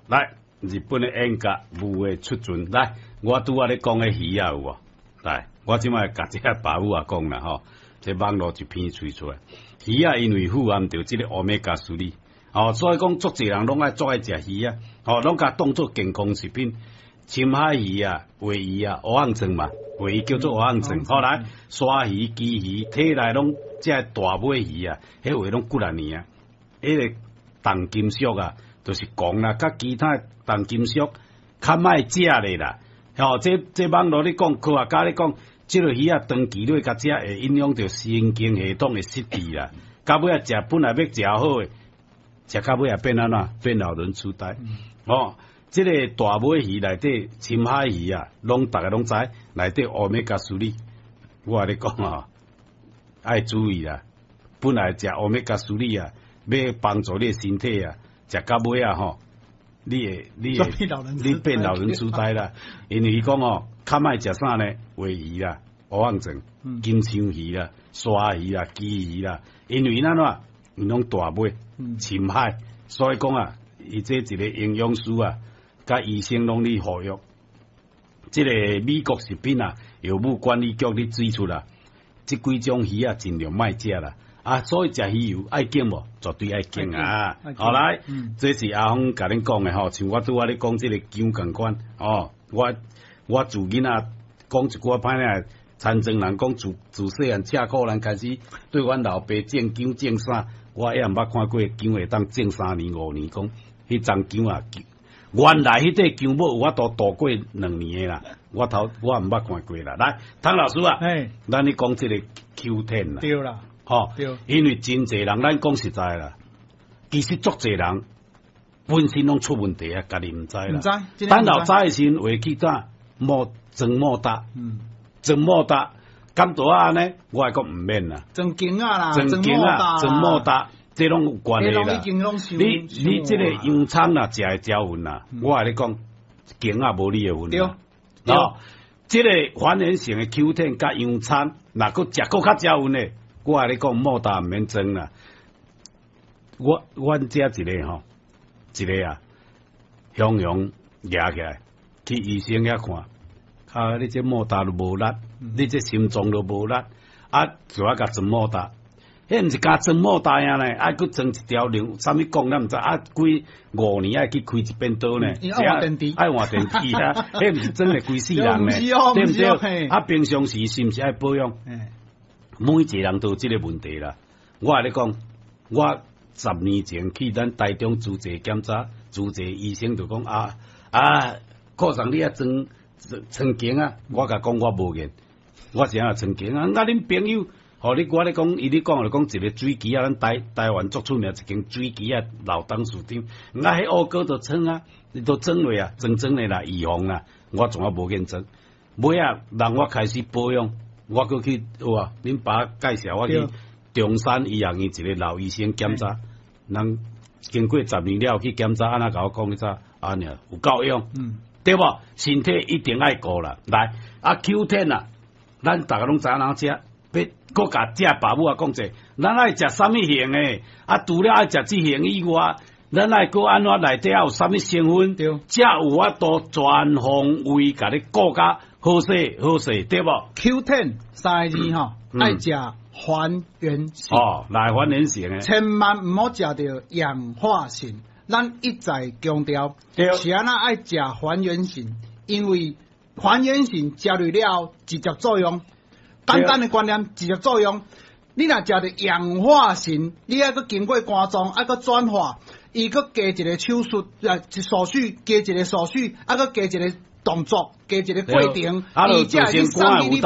來，日本的演甲無會出巡。來，我拄仔咧講的魚仔有無？來，我這擺共這个爸母仔講啦吼，這網路一篇吹出來，魚仔因為富含著這個 Omega 3，哦，所以講足濟人攏愛足愛食魚仔，哦，攏共當做健康食品。深海魚啊、鮪魚啊、蚵仔煎嘛，鮪魚叫做蚵仔煎。後來鯊魚、旗魚，體內攏這大尾魚啊，彼話攏骨力爾啊，彼個重金屬啊，就是汞啦，佮其他重金屬較莫食咧啦。吼，這網路咧講，科學家咧講，這个魚仔長期落共食，會影響著神經系統的失智啦。到尾仔食本來欲食好的，食到尾仔變按怎？變老人痴呆。哦，這個大尾魚內底深海魚啊，攏逐个攏知，內底 Omega 3，我共你講啊，愛注意啦。本來食 Omega 3啊，欲幫助你的身體啊，食到尾仔吼，你會你變老人痴呆啦。因為伊講哦，較莫食啥呢？鮪魚啦、蚵仔煎、金槍魚啦、鯊魚啦、旗魚啦，因為按怎？𪜶攏大尾深海，所以講啊，伊這一個營養師啊，佮醫生攏咧呼籲，這個美國食品啊，藥物管理局咧指出啦，這幾種魚仔盡量莫食啦。啊，所以食魚油愛緊無？絕對愛緊啊！好來，這是阿峰共恁講的吼，像我拄仔咧講這个薑仝款哦，我自囡仔講一句歹聽，田莊人講自自細漢赤褲人開始，對阮老爸種薑種啥，我也毋捌看過薑會當種3年5年，講彼欉薑啊，原來彼塊薑母有法度度過2年的啦，我頭我毋捌看過啦。來，湯老師啊，咱咧講這個 Q10 啦，對啦。吼，因為真濟人，咱講實在啦，其實足濟人本身攏出問題啊，家己毋知啦。毋知，等到知的時陣，會去怎莫裝莫搭，裝莫搭，敢做按呢？我會講毋免啦。裝鏡仔啦，裝鏡仔，裝莫搭，這攏有關係啦。你這个洋蔥啦，食會招暈啦。我共你講，鏡仔無你的份。對。哦，這个還原性的 Q10 佮洋蔥，若閣食閣較招暈的。我共你講，莫搭毋免裝啦。我阮遮一个吼，一个啊，雄雄舉起來去醫生遐看，啊，你這莫搭都無力，你這心臟都無力，啊，就愛共裝莫搭。彼毋是共裝莫搭爾呢，愛閣裝一條龍，啥物講咱毋知，啊，幾5年愛去開一遍刀呢？愛換電池，愛換電池啊！彼毋是裝會規世人呢，對毋對？啊，平常時是毋是愛保養？每一個人都有這个問題啦。我共你講，我10年前去咱台中主治檢查，主治醫生就講啊啊，科長你愛裝裝鏡啊，我共講我無緣，我是按怎裝鏡啊？啊，恁朋友，吼你我咧講，伊咧講就講一个水機仔，咱台灣足出名一間水機仔老董事長，啊，彼烏哥就裝啊，伊都裝落啊，裝裝的啦，預防啦，我從來無見裝。尾仔，人我開始保養。我閣去有啊，恁爸介紹我去中山醫學院一个老醫生檢查，人經過十年了去檢查，按怎共我講彼早按呢有夠用，對無？身體一定愛顧啦。來，啊 Q10 啊，咱逐个攏知影怎食，欲閣共遮爸母仔講者，咱愛食啥物型的？啊，除了愛食這型以外，咱愛閣按怎內底還有啥物成分？才有法度全方位共你顧甲好勢好勢，對無？Q10 三个字吼，愛食還原性哦，來還原性的，千萬毋好食著氧化性。咱一再強調，是按怎愛食還原性？因為還原性食落了後直接作用，簡單的觀念直接作用。你若食著氧化性，你愛閣經過肝臟，愛閣轉化，伊閣加一個手續，啊，手續加一個手續，啊，閣加一個動作，加一個過程，伊才會送去你。